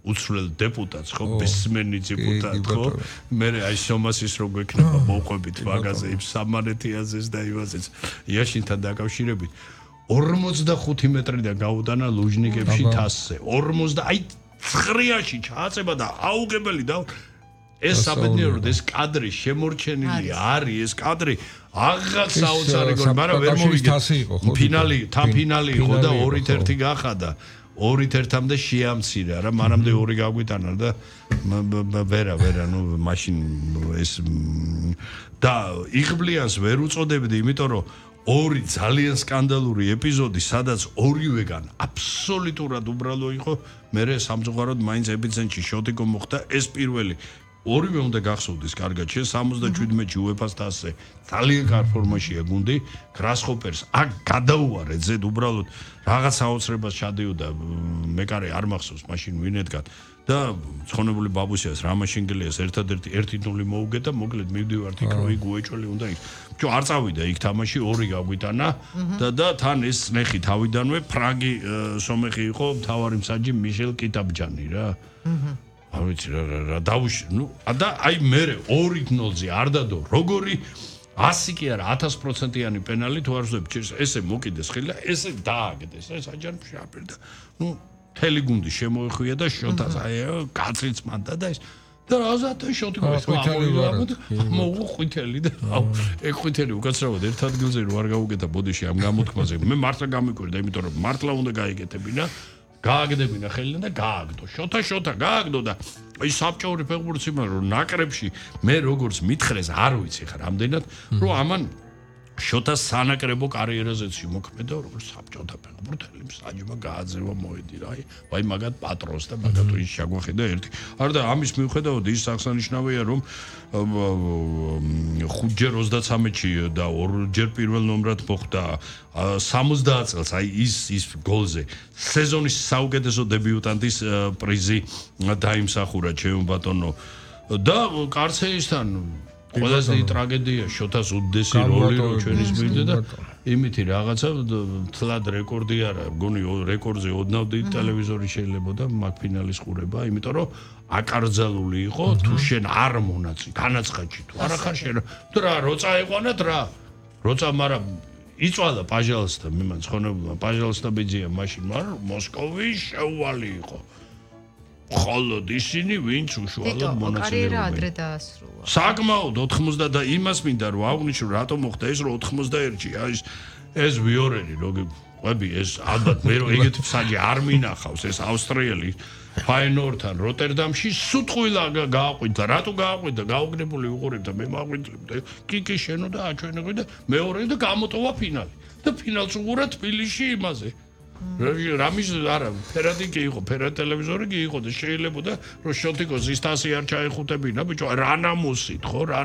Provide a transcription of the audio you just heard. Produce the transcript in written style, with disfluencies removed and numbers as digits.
უცვლელ დეპუტატს ხო ბესმენი დეპუტატ ხო მე აი შომასის რო გვექნება მოყვებით მაგაზე იმ სამანეთიაზეს და ივაზეს იაშინთან დაკავშირებით 45 მეტრიდან გაუტანა ლუჟნიკებში თასზე 50 აი ცხრიაში ჩააწება და აუგებელი და ეს საბედნიეროდ ეს კადრი შემორჩენილი არის ეს კადრი აღარ საოცარი გოლი მაგრამ ვერ მოვიგე ფინალი თან ფინალი იყო და 2-1 გახადა 2-1-მდე შეამცირა რა მანამდე 2 გაგვიტანა და ვერა ნუ მაშინ ეს და იღბლიანს ვერ უწოდებდი იმიტომ რომ ორი ძალიან სკანდალური ეპიზოდი სადაც ორივეგან აბსოლუტურად უბრალო იყო მე სამწუხაროდ მაინც ეპიცენტრში შოტი მოხდა ეს პირველი ორივე უნდა გახსოვდეს კარგად შენ 77-ში UEFA-ს თასზე ძალიან კარგ ფორმაშია გუნდი გრასჰოპერს აქ გადაუარეთ ზედ უბრალოდ რაღაც აუცრებას ჩადიოდა მეკარე არ მახსოვს მაშინ ვინეთგან და ცხონებული ბაბუსიას რამაშინგელიას ერთადერთი 1-0 მოუგე და მოკლედ მივდივართ იქ რო იგუეჭველი უნდა იქ ბჭო არ წავიდა იქ თამაში 2 გაგვიტანა და თან ეს ნეხი თავიდანვე ფრანგი სომეხი იყო მთავარი მსაჯი მიშელ კიტაბჯანი რა არ ვიცი რა დავუშვი ნუ და აი მე 2-0-ზე არ დადო როგორი 100 კი არა 1000%-იანი პენალი თუ არ ვზები ესე მოკიდეს ხილი ესე დააგდეს ეს აჯანში აპირდა ნუ მთელი გუნდი შემოეხვია და შოთას აი კაცრიც მანდა და ეს და რაზათა შოთი მოუყვითელი და ეგ ყვითელი უკაცრავად ერთ ადგილზე რო არ გაუგეთა ბოდიში ამ გამოთქმაზე მე მართლა გამიკვირდა იმიტომ რომ მართლა უნდა გაიგეთებინა გააგდებინა ხელიდან და გააგდო შოთა გააგდო და აი საბჭოური ფეხბურთი მაგრამ ნაკრებში მე როგორც მითხრეს არ ვიცი ხა რამდენად რომ ამან შოთას სანაკრებო კარიერაზეც მოქმედა როგორც საბჭოთა ფეხბურთელი მსაჯმა გააძევა მოედი რა აი მაგათ პატრონს და მაგათ ის შეგვახედა ერთი არა და ამის მიუხედავად ის აღსანიშნავია რომ 5-ჯერ 33-ში და 2-ჯერ პირველ ნომრად მოხვდა 70 წელს აი ის გოლზე სეზონის საუკეთესო დებიუტანტის პრიზი დაიმსახურა ჩემო ბატონო და კარცეისთან ყველაზე ტრაგედია შოთას უდიდესი როლი რო ჩვენის მივიდა და იმითი რაღაცა თლად რეკორდი არა მგონი რეკორდზე ოდნავ დიდი ტელევიზორი შეიძლება და მაგ ფინალის ყურება იმიტომ რომ აკარძალული იყო თუ შენ არ მონაწილე განაცხადში თუ არა ხარ შენ რა როცა ეყვანათ რა როცა მაგრამ იწვალა პაჟალსთან მე მან ცხონებულა პაჟალსთან ბიძია მაშინ მაგრამ მოსკოვის შეუვალი იყო ხოლოდ ისინი ვინც უშუალოდ მონაწილეობენ. ადრე დაასრულა. საკმაოდ 90 და იმას მინდა რომ აღვნიშნო რატომ მოხდა ეს რომ 91-ში ეს ვიორელი როგი ყვები ეს ალბათ მე რომ ეგეთი მსაჯი არ მინახავს ეს ავსტრიელი ფაინორდთან როტერდამში სუტყვილა გააყვიდა რატო გააყვიდა გაუგნებული უყურებდა მე მაყვიდლებდა კიკი შენო და აჩვენებდა და მეორე და გამოტოვა ფინალი და ფინალს უყურა თბილისში იმაზე რამის არა ფერადი კი იყო ფერად ტელევიზორი კი იყო და შეიძლებოდა რომ შოთიკოს ის თასი არ ჩაეხუტებინა ბიჭო რა ნამუსით ხო რა